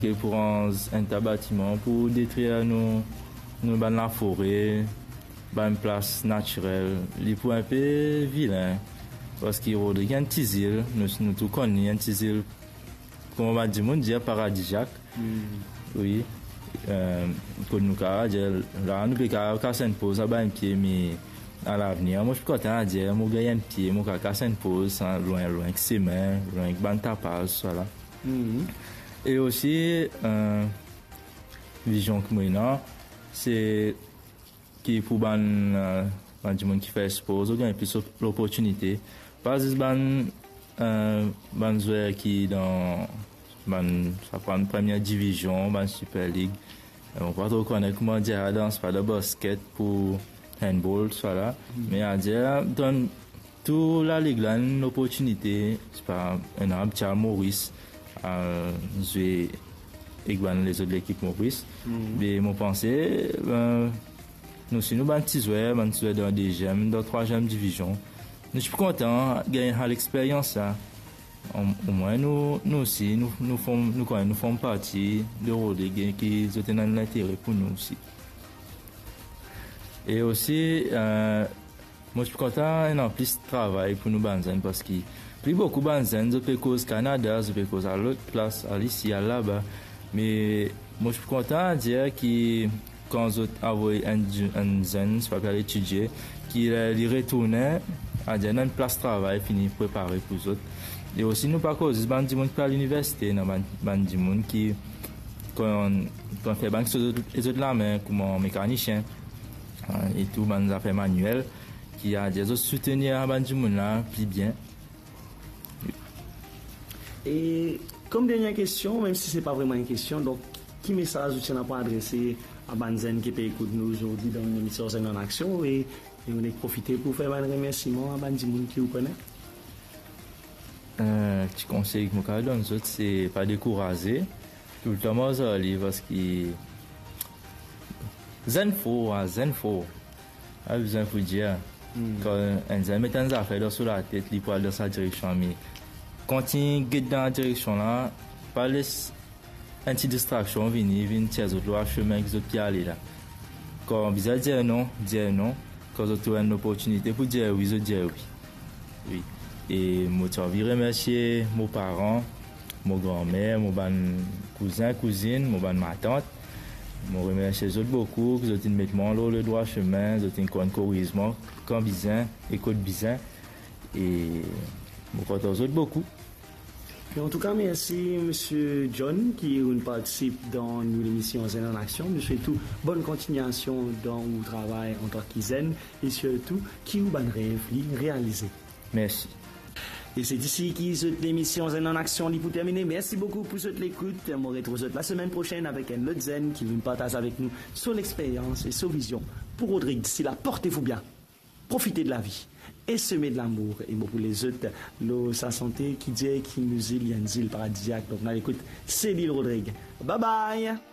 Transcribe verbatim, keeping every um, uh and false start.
Ke pou ranz enn ta batiman, pou detrir nou, nou bann lafore, bann plas natirel, li pou inpe vilin. Parski Rodrig enn ti zil, nou, nou tou konn li enn ti zil, kouma bann dimoun dir, paradiziak. Wi. Eh, kot nou kapav dir, la nou pe kapav kas enn poz, aba enn pie, me a lavenir, mo ti kontan dir, mo gagn enn pie, mo kapav kas enn poz, sa, lwin, lwin ki sime, lwin ki bann tapaz, sa la. E osi, eh, vizion ki mo ena, se ki pou bann, eh, bann dimoun ki fer spor, zot gagn plis op-, loportinite. Pa zis bann, eh, bann zwer ki dan bann, sa pran premie divizion, bann Super League. Eh, mo pa tro kone kouma dir sa dan, sa pa dan basket pou handball, sa la. Me a dir, donn tou lalig la enn loportinite, se pa enn abtia Moris, al zwe ek bann lezot lekip Moris. Me mo panse, eh, nou si nou bann ti zwer, bann ti zwer dan deziem, dan trwaziem divizion, nou ti pou kontan gagn sa lexperyans la. Om-, omwin nou, nou osi, nou, nou form, nou kone, nou form parti de Rodrig, ki zot ena enn lintere pou nou osi. E osi, eh, mo ti pou kontan ena plis travay pou nou bann zenn, parski pli boukou bann zenn, zot pe koz Kanada, zot pe koz al lot plas, al isi, al laba. Me mo ti pou kontan dir ki kan zot avoy enn di-, enn zenn, sipa pe al etidie, ki, eh, li retourne, a dir ena enn plas travay fini prepare pou zot. E osi nou pa koz zis bann dimoun ki pe al liniversite, ena bann, bann dimoun ki konn, konn fer bann kiksoz zot, zot lame, kouma mekanisien, eh, e tou bann zafer maniel, ki a dir zot soutenir bann dimoun la pli bien. E kom dernie kestion, mem si se pa vreman enn kestion, donk, ki mesaz ou ti ena pou adrese a bann zenn ki pe ekout nou zordi dan lemision Zenn an Aksion, e, e ou nek profite pou fer bann remersiman a bann dimoun ki ou kone? Eh, ti konsey ki mo kapav donn zot, se pa dekouraze. Toultan mars ar li, parski zenn for, a, zenn for. Pa bizin pou dir. Kan enn zenn met enn zafer dan so latet, li pou al dan sa direksion, me kontign get dan sa direksion la, pa les enn ti distraksion vini, vinn tir zot lor sime ki zot pe ale la. Kan bizin dir non, dir non. Kan zot trouv enn loportinite pou dir wi, zot dir wi. Wi. E mo ti anvi remersie mo paran, mo granmer, mo bann kouzin, kouzinn, mo bann matant. Mo remersie zot boukou, ki zot inn met mwa lor ledrwa sime, zot inn konn koriz mwa kan bizin e kot bizin. E mo kontan zot boukou. E antouka, mersi, Misie John, ki ou'nn partisip dan nou lemision Zenn an Aksion. Nou swet ou bonn kontignasion dan ou travay antan ki zenn e sirtou ki ou bann rev li realize. Mersi. E se isi ki zot lemision Zenn an Aksion li pou termine. Mersi boukou pou zot lekout. Mo retrouv zot lasemenn prosenn avek enn lot zenn ki vinn partaz avek nou so lexperyans e so vizion pou Rodrig. Disi la, porte vou bien. Profite de lavi e seme de lamour e mo pou les zot lor sa sante ki dir ki nou zil, li enn zil paradiziak. Donk, nou al ekout Céline Rodrig. Bye bye.